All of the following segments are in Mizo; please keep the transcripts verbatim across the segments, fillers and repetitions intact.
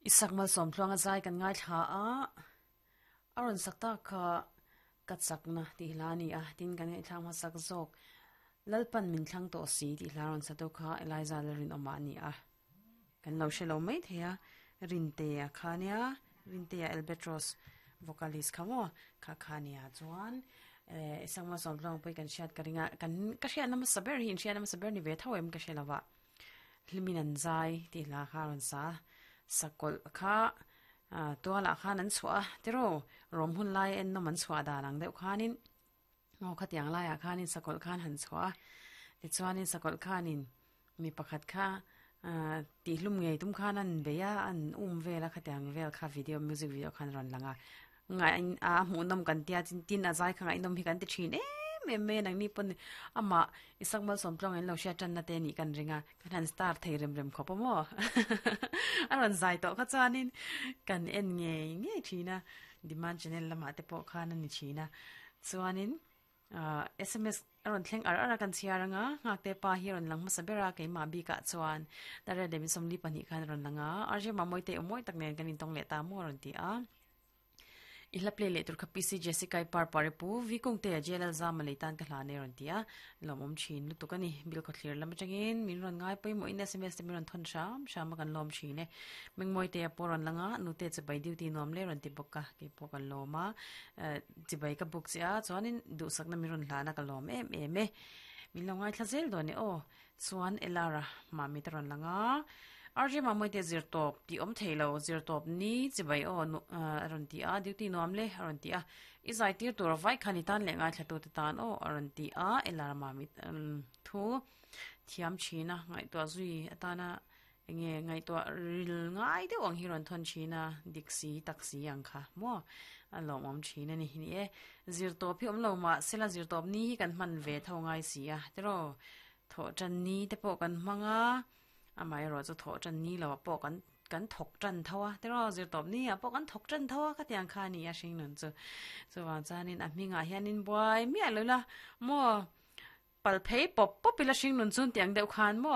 Isak mal som tluanga zai kan ngai thla a aron sakta kha ka chakna ti hlani a tin kan ngai thlang ma sak zok lalpan min thlang to si ti hlaron sa to kha Eliza rin oma ani a kan lo shelo mai theya rinte a khania rinte a Albatros vocalist khamo kha khania chuan eh isak ma som tluang pui kan hriat ka ringa kan ka hriat na ma saber hi in hriat na ma saber ni ve tho em ka hrelawa hlimin an zai ti hla kha ron sa sakol kha tuala khan an chua tero rom hun lai en no man chua da lang deuh khanin ngo khatiang lai a khanin sakol khan han chua ti chuanin sakol khanin mi pakhat kha ti hlum ngei tum khan an beya an um vela khatiang vel kha video music video khan ron langa ngai a hmu nom kan tia chin tin a zai kha ngai nom hi kan ti thin em em me nang ni pon ama isak mal som tlong en lo sha chan na te ni kan ringa kan han star thei rem rem khopo mo aron zai to kha chuanin kan en nge nge thina demand channel lama te po khan ani thina chuanin S M S aron thleng ar ara kan chiaranga ngak te pa hi ron lang ma sabera ke ma bi ka chuan tare de mi somli pani khan ron langa arje ma moi te omoi tak nen kan in tong le ta mo ron ti a ihla play le tur kha P C Jessica par pare pu vi kong te J L za malei tan ka hla ne ron tia lomom chin lu tukani bil kho thlir lam changin min ron ngai poi mo in S M S te min ron thon sham sham kan lom chin e mengmoi te poron langa nu te che bai duty nom le ron ti bokka ke po kan loma chi bai ka book chia chuanin du sakna mi ron hla na ka lom em em e min lo ngai thlazel do ne o chuan Elara ma mi te ron langa R J ma moi te zir top ti om theilo zir top ni chi bai o aron ti a duty nom le aron ti a i zai tir tur vai khani tan le ngai thlatu te tan o aron ti a Elara ma mi thu thiam china ngai to zui atana enge ngai to ril ngai de ong hi ron thon china diksi taxi ang kha mo a lom om china ni ni e zir top hi om lo ma sela zir top ni hi kan man ve tho ngai si a tero tho chan ni te po kan manga amai ro chu tho chan ni lo po kan kan thok chan thawa tero zir top ni a po kan thok chan thawa ka tiang kha ni a hring nun chu chu wa chanin a hminga hianin buai mi a lo la mo pal phei pop pop ila hring nun chun tiang deuh khan mo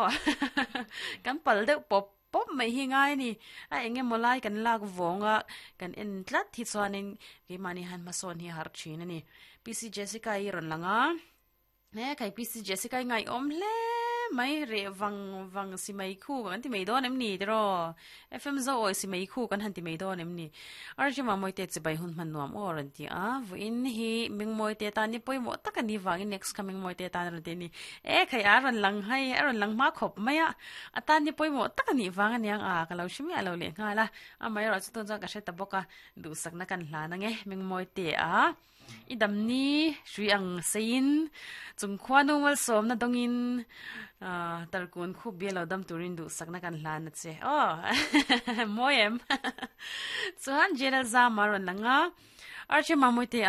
kan pal deuh pop pop mai hi ngai ni a enge molai kan lak vonga kan en tlat hi chuanin ke mani han ma son hi har thin ani P C Jessica i ron langa ne kai P C Jessica ngai om hle mai re wang wang si mai khu kan ti mai don em ni tro F M zo oi si mai khu kan han ti mai don em ni arji ma moi te che bai hun man nuam o ran ti a vu in hi ming moi te ta ni poi mo tak ani wang next coming moi te ta ran te ni e khai a ran lang hai a ran lang ma khop maya atan ni poi mo tak ani wang aniang a ka lo shimi a lo le nga la a mai ro chu ton ka she ta boka du sak na kan hla na nge ming moi te a idam ni shui ang sein chung khwanu wal som na dongin tarkun khu belo dam turin du sakna kan hlan na che o moem chuan General za maron langa arche mamoi te.